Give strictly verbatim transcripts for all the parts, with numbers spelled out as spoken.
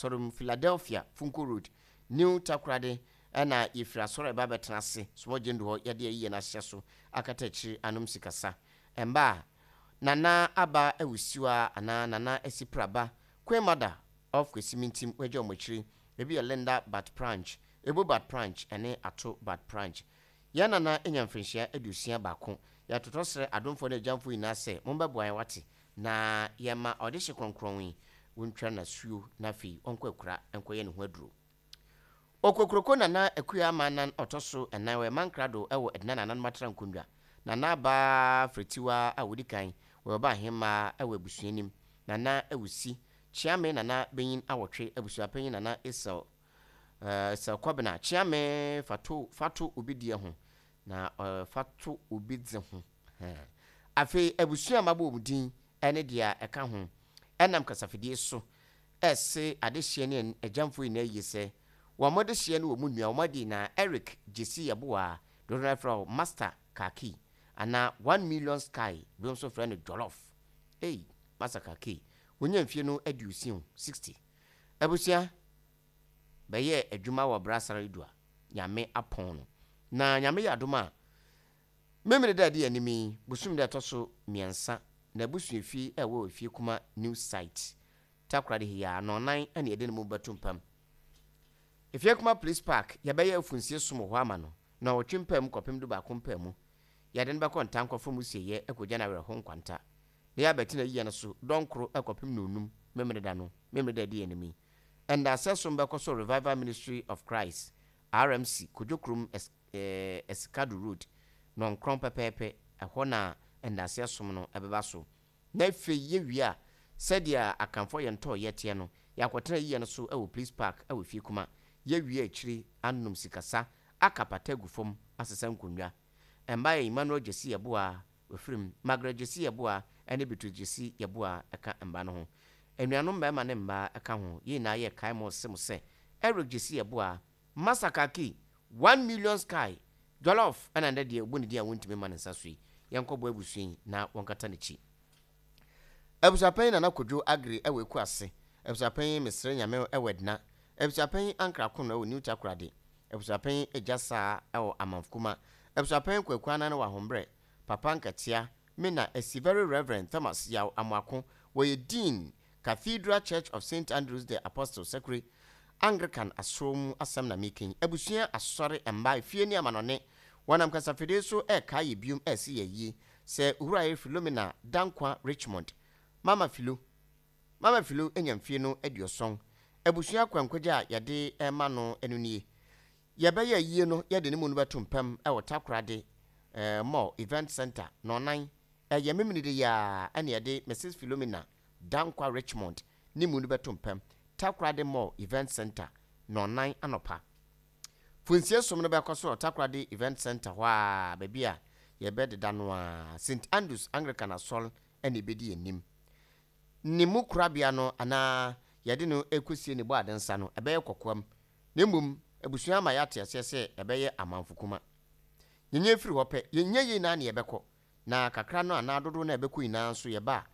Asɔre mu, Philadelphia, Funko Road, New Takoradi, ɛna yɛfiri asɔre ɛba bɛtena ase sumɔgye ndu hɔ. Yɛde ayi yɛn ahyɛ so akata akyiri anom sikasa mba a Nana Aba Awusiwa anaa Nana Asipraba, Queen Mother of Kwesimintim, wagya wɔn akyiri. Ebi yɛ Linda Bat Pranch, Ebo Bat Pranch ɛne Ato Bat Pranch. Yɛn nana anya mfirinhyia aduosia baako. Yɛatotɔ srɛ adomfoɔ ne agyamfoɔ nyinaa sɛ mombɛboa yɛn wate na yɛma ɔde hye kronkron yi wɔntwa n'asuo na afei ɔnkɔ akura nkɔyɛ ne ho aduro. Okokuroko Nana Akua Ama nan ɔtɔ so ɛnan wɔ Mankrado ɛwɔ Ɛdina nananom atena nkonnwa. Nana Abaa Frɛtiwa a wɔdi kan wɔyɛ ɔba ahemmaa ɛwɔ abusua nim. Nana Awusi Kyeame Nana Benyin awɔtwe, abusuapanyin Nana Esel ɛɛ Esel Kɔbena Kyeame fato fato obi deɛ ho na ɛɛ fato obi dze ho. Ɛɛ afei abusua a mabɔ wɔn din ɛne deɛ ɛka ho ɛnam kasafidie so ɛse adehyeɛ ne agyamfoɔ nyinaa yie sɛ wɔn mo de hyeɛ no wɔ mu nua wɔn adi na Eric Jesi Yeboa, dodoɔ no frɛ wo Master Kaki anaa One Million Sky, bi nso frɛ no Jollof. Ei, Master Kaki wonya mfie no aduosia sixty. Abusua bɛyɛ adwuma wɔ Brasara Edu a Nyame apɔn no na Nyame yɛ adom a mmemmere da adi anim yi, bosom da ɛtɔ so mmiɛnsa na abusua fie ɛwɔ Efie Kuma New Site, Takoradi hia nɔnan ɛna yɛde ne mu bɛto mpam Efie Kuma Police Park. Yɛbɛyɛ afunsie som wɔ hɔ ama no na ɔtwe mpaa mu kɔpem du baako mpaa mu. Yɛde no bɛkɔ ntankɔfo mu sieyɛ akɔgya no awerɛho nkwanta na yɛabɛtena yie no so dɔnkoro ɛkɔpem nonum mmemmere da no, mmemmere da adi anim yi. Ɛndaasɛ som bɛkɔ so Revival Ministry of Christ, R M C, Kodwokurom, Esikado Road, nɔnkrɔn pɛpɛɛpɛ. Ɛhɔ na ɛndaasɛ som no ɛbɛba so. Na afei yɛwie a, sɛdeɛ akamfoɔ yɛn tɔɔ yɛteɛ no, yɛakɔtena yie no so ɛwɔ Police Park ɛwɔ Fie Kuma. Yɛwie akyire anom sikasa aka pata agu fam asesa nkonnwa. Mmaa yɛ Emmanuel Gyesi Yɛboa ofirim, Margaret Gyesi Yɛboa ɛne Beatrice Gyesi Yɛboa ɛka mba no ho. Anuanom mmarima ne mmaa ɛka ho, yɛn nyinaa yɛ kae mo se mo sɛ Eric Gyesi Yɛboa, Masakaki, One Million Sky, Jollof, ɛna ndɛ deɛ obu ne din a wɔntumi ma ne nsa so yi, yɛnkɔbɔ abusua yi na wɔnkata n'akyi. Abusuapanyin Nana Kodwo Agri ɛwɔ Eku ase, abusuapanyin Mesrɛ Nyame ɛwɔ Ɛdina, abusuapanyin Ankra Kono ɛwɔ New Takoradi, abusuapanyin Egya Saa ɛwɔ Amanfokuma, abusuapanyin Kwaku Anan wɔ Ahombrɛ, Papa Nkatia Mena Esi. Very Reverend Thomas Yaw Amoako, wɔyɛ Dean, Cathedral Church of Saint Andrews the Apostle, Sekure Anglican asɔrɔ mu. Asɛm na mekan abusua asɔre mmaa efie ne amanɔne wɔnam kasafidie so ɛɛka yɛ biom ɛɛsi yɛ yie sɛ Owura yɛ Philomena Dankwa Richmond, Mama Philo. Mama Philo anya mfie no aduɔsɔn. Abusua akwankwagya a yɛde ɛma no ɛno nie. Yɛbɛyɛ yie no, yɛde ne mu no bɛto mpam ɛwɔ Takoradi ɛɛ Mall Event Center nɔnan, ɛyɛ memene de yaa, ɛne yɛde Missus Philomena Dankwa Richmond ne mu no bɛto mpam Takoradi Mall Event Center nɔnan anɔpa. Funsie som no bɛkɔ so wɔ Takoradi Event Center hɔ a baabi a yɛbɛdeda no a Saint Andrews Anglican Asɔre ɛna ɛbɛdi anim. Ne mu korabea no anaa yɛde no ɛkɔsie ne bɔ ade nsa no ɛbɛyɛ kɔkoam, na mmom abusua ama yɛate aseɛ sɛ ɛbɛyɛ amanfo kuma. Yɛnyɛ firi hɔ pɛ, yɛnyɛ yei naa ne yɛbɛkɔ na kakra no anaa dodoɔ no a ɛbɛkɔ nyinaa nso yɛba a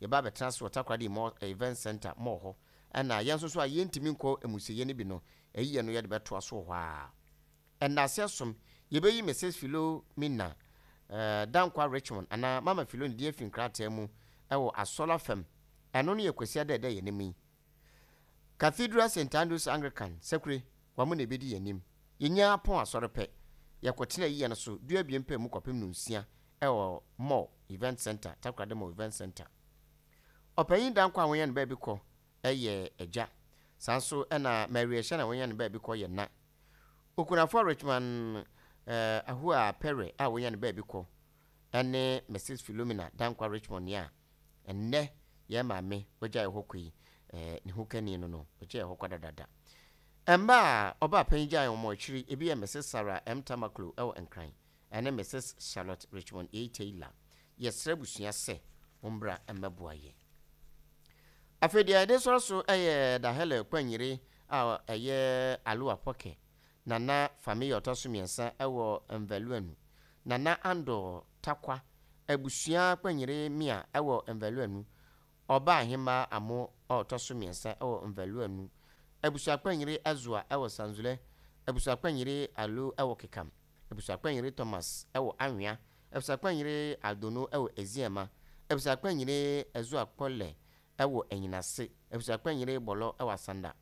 yɛba abɛtena ase wɔ Takoradi Mall Event Center mall hɔ. Ɛna yɛn nso so a yɛntumi nkɔ amusieɛ no bi no, ɛyiyɛ no yɛde bɛtoa so wɔ hɔ a ɛndaseɛ som yɛbɛyi Missus Philomena uh, Dankwa Richmond anaa Mama Philo ne deɛ afi nkrataa mu ɛwɔ asɔla fam. Ɛno no yɛ Kwasi ada ɛda yɛn anim yi, Cathedral Saint Andrews Anglican, Sɛkure wɔn na ebɛdi yɛn anim. Yɛnya pɔn asɔre pɛ, yɛkɔtena yiyɛ no so dua abien pɛ mu kɔpem no nsia ɛwɔ Mall Event Center, Takoradi Mall Event Center. Ɔpanyin Dankwa a wɔnyɛ no baabi kɔ ɛyɛ agya, saa nso ɛna Mary Ɛhyɛ na wɔnyɛ no baabi kɔ yɛ na okunafoɔ Richmond ɛɛ Ahoa Pɛrɛ a wɔnyɛ no baabi kɔ ɛne Missus Philomena Dankwa Richmond a ɛnnɛ yɛn maame wɔgya yɛ hɔ kɔ yi, ɛɛ ne ho kani no no wɔgya yɛ hɔ kɔ dadada. Mmaa a ɔbaa panyin gya wɔn akyiri ebi yɛ Missus Sarah M Tamaklo ɛwɔ Nkran ɛne Missus Charlotte Richmond A Taylor. Yɛsrɛ abusua sɛ wɔmbra mmɛboa yɛ. Afei deɛ yɛde sɔrɔ so ɛyɛ Dahele Kwanyere a ɛyɛ Aloa Pɔkɛ Nana Family ɔtɔ so mmiɛnsa ɛwɔ Mvaluanu, Nana Ando Takwa, abusua Kwanyere Mia ɛwɔ Mvaluanu, ɔbaa ahemmaa Amo a ɔtɔ so mmiɛnsa ɛwɔ Mvaluanu. Abusuapanyiri Azua ɛwɔ Sanzule, Abusuapanyiri Alu ɛwɔ Kekam, Abusuapanyiri Thomas ɛwɔ Anwea, Abusuapanyiri Aldono ɛwɔ Eziama, Abusuapanyiri Azua Kpɔlɛ ɛwɔ Enyinase, Abusuapanyiri Bɔlɔ ɛwɔ Asanda,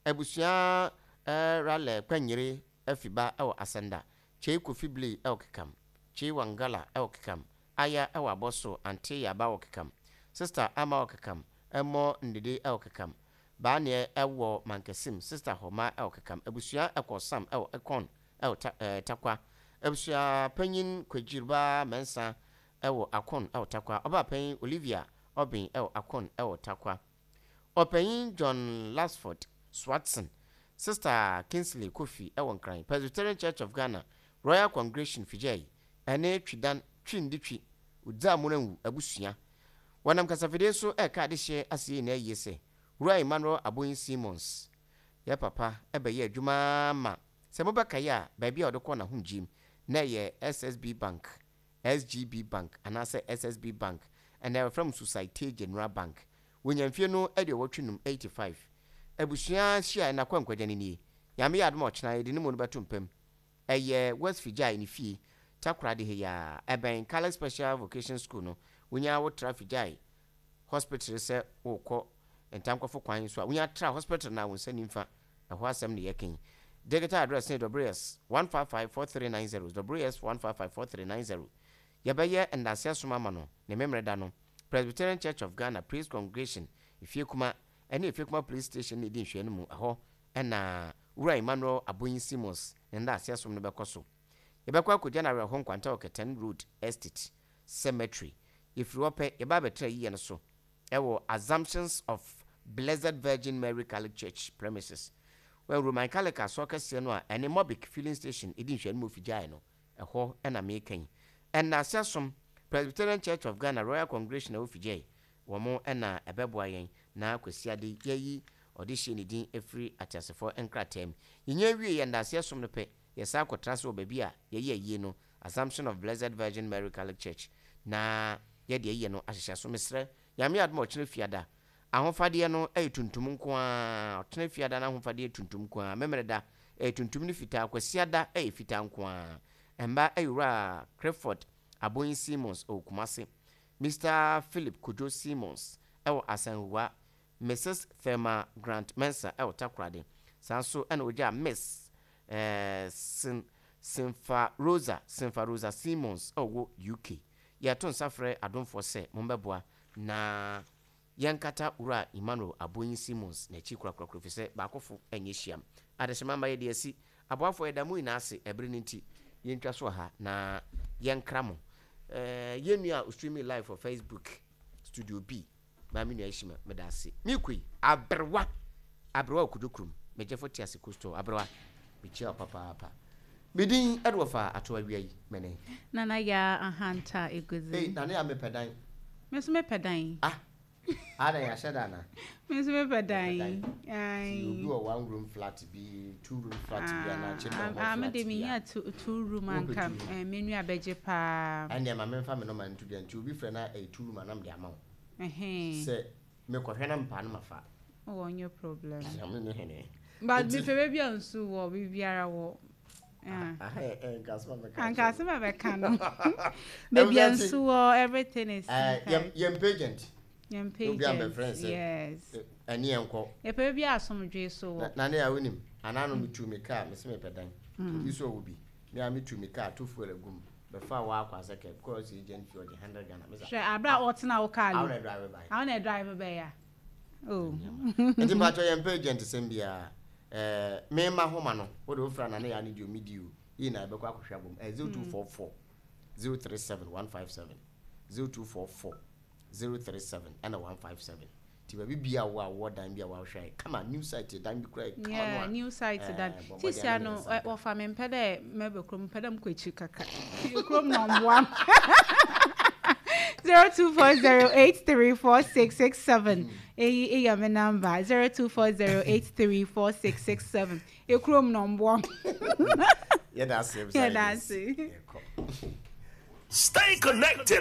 Abusua Ralɛ Panyiri Afiba ɛwɔ Asanda, Kyei Kofi Blay ɛwɔ Kekam, Kyei Wangala ɛwɔ Kekam, Aya ɛwɔ Abɔso, Ante Yaba wɔ Kekam, Sister Ama wɔ Kekam, Ɛmɔ Ndede ɛwɔ Kekam, Baaneɛ ɛwɔ Mankasim, Sister Homa ɛwɔ Kekam, Abusua ɛkɔ Sam ɛwɔ Ekɔn ɛwɔ ta, ɛɛ Takwa, Abusua Panyin Kwagyiriba Mɛnsa ɛwɔ Akon ɛwɔ Takwa, Ɔbaa Panyin Olivia Ɔbɛn ɛwɔ Akon ɛwɔ Takwa, Ɔpanyin John Lasford Swatson, Sister Kingsley Kofi ɛwɔ Nkran, Presbyterian Church of Ghana, Royal Congregation Fijai, ɛne Twidan Twinditwi Odzamuranwu abusua. Wɔnam kasafidie so ɛka adehyeɛ aseɛ nyinaa yie sɛ Wura Emmanuel Aboyin Simons, yɛ papa ɛbɛyɛ adwuma ma sɛ mobɛkaeɛ a, baabi a ɔde kɔ n'ahomgyem na ɛyɛ S S B Bank, S G B Bank anaasɛ S S B Bank, ɛnna wɔfrɛ no Societe Generale Bank. Wɔnya mfie no aduɔwɔtwe num, eighty-five. Abusua hyia ɛna kɔ nkwagya no nie. Nyame yɛ adom a, ɔkyena yɛde ne mu no bɛto mpam. Ɛyɛ West Fijai ne fie, Takoradi ha yi a ɛbɛn Catholic Special Vocation School no. Wonya wotra Fijai Hospital sɛ wokɔ Ntankɔfo kwan so a, wonya tra hospital na wo nsa nimfa ɛhɔ asɛm ne yɛkɛn. Digital address ne W S one five five four three nine zero, W S one five five four three nine zero. Yɛbɛyɛ ndase asom ama no ne memmerɛ da no, Presbyterian Church of Ghana Praise Congregation, Efie Kuma ɛne Efie Kuma Police Station ne ɛdi nhwɛ no mu. Ɛhɔ ɛna Wura Emmanuel Aboyin Simons ne ndase asom no bɛkɔ so. Yɛbɛkɔ akɔgya no awerɛho Nkwanta wɔ Kɛtɛn Road Estate Cemetery. Yɛfiri hɔ pɛ, yɛba abɛtena yiyɛ no so ɛwɔ Assumptions of Blessed Virgin Mary Catholic Church premises, wɔn Roman Catholic asɔ kɛseɛ no a ɛne Mobic Filling Station ɛdi nhwɛ no mu figyae no. Ɛhɔ ɛna meka yi. Ɛnna asom Presbyterian Church of Ghana Royal Congregation a ɛwɔ Figyae wɔn ɛna ɛbɛboa yɛn na Kwasiade yɛyi ɔde hyɛ ne din efiri ateasefoɔ nkrataa mu. Yɛnyɛ wie yɛn ndaseɛ som no pɛ, yɛsan akɔtena so wɔ baabi a yɛyɛ ayie no, Assumption of Blessed Virgin Mary Catholic Church, na yɛde ayie no ahyehyɛ so. Mesrɛ Nyame adom a, ɔkyerɛ Fiada ahofadeɛ no ɛyɛ tuntum nko ara. Ɔtena Fiada no ahofadeɛ tuntum nko ara, Memere da ɛyɛ tuntum ne fitaa, Kwasiada ɛyɛ fitaa nko ara. Mba ɛyɛ Owura Clifford Aboyin Simons ɛwɔ Kumase, Mister Philip Kojo Simons ɛwɔ Asanhua, Missus Thelma Grant Mensa ɛwɔ Takoradi. Saa nso ɛna ogya Miss ɛɛ Sin Sinfa Rosa, Sinfa Rosa Simons ɛwɔ U K. Yɛto nsa frɛ adomfoɔ sɛ mombɛboa na yɛnkata Wura Emmanuel Aboyin Simons n'akyi korakorakora, fi sɛ baakofo ɛnyɛ hyiam adehyema ma yɛde asi aboafoɔ. Yɛda mu nyinaa ase. Ɛbere no nti yɛntwa so ha na yɛnkra mo. ɛɛ yɛn nua a streaming live for Facebook, Studio B, maame nua Ahyima, meda ase. Mikoi aberewa, aberewa Okudo kurom, megyefo te ase kosto aberewa, mekyia wo papaapa. Medin ɛde wɔfa ato awia yi mɛne Nana Ya Ahanta Eguzi. Ei, nane a mepɛ dan. Me nso mepɛ dan. Ah, ada yɛahyɛ da na Me nso mepɛ dan. Ti obi wɔ one room flat bi, two room flat bi anaa chamber hall Ah, flat me de bi menya a two, two room Wopɛ anka two room? eh, me nua bɛgye paa. Ɛnneɛ ma memfa me nɔma nto dwa, nti obi frɛ na ɛyɛ two room anam de ama wo Ɛhɛn. sɛ mekɔhwɛ na mpaa no mafa. Oh, no problem. Nyame ne hene. But Nti- mepɛ baabi a nsu wɔ, biribiara wɔ. Ah. Aha yɛ ɛ, nka asɛm a mɛka Anka akyerɛ asɛm a bɛka no. Baabi a Ɛwɔ sɛ nsu wɔ, everything is wo. Ɛɛ, inside. yɛm yɛmpɛ agent. Yɛmpɛ Obi agent. ambɛfrɛ sɛ Yes. ɛne yɛn nkɔ. Yɛpɛ baabi a asomdwee so Na wɔ. na ne a wonim anaa no, metu me kaa, mese mepɛ dan. Obi so ɔwɔ bi, me a metu me kaa to fuel agu mu bɛfa wɔ akɔ asɛ kɛ because agent fee ɔgye hundred Ghana mesa. Hwɛ abere a ɔtena wo kaa awo no. Na drive by. Awo na drive bɛyɛ a. Oh. Nti mpakyɛ, yɛmpɛ agent sɛm biara. ɛɛ mema homa no wode wofra na ne yɛ ane deɛ omidi o yi na ɛbɛkɔ akɔhwɛ abom. Ɛyɛ zero two four four zero three seven one five seven, zero two four four zero three seven ɛna one five seven. Nti baabi bia wo a wowɔ dan bi a wahwɛ ayɛ kama, new site dan bi kora yɛ kama no Yeah, a new site dan. Eh, bɔ mmɔden Sisia na no ne nsa nka. wɔfa me mpɛ dɛ mɛbɛ kurom, mpɛ dɛ mkɔ akyiri kakra. Kurom na ɔmboa m. Zero two four zero eight three four six six seven. Eyi eyi me number, zero two four zero eight three four six six seven. Ekurom na ɔmboa m. Yɛda ase. Yɛda ase. Yɛkɔ. Stay connected.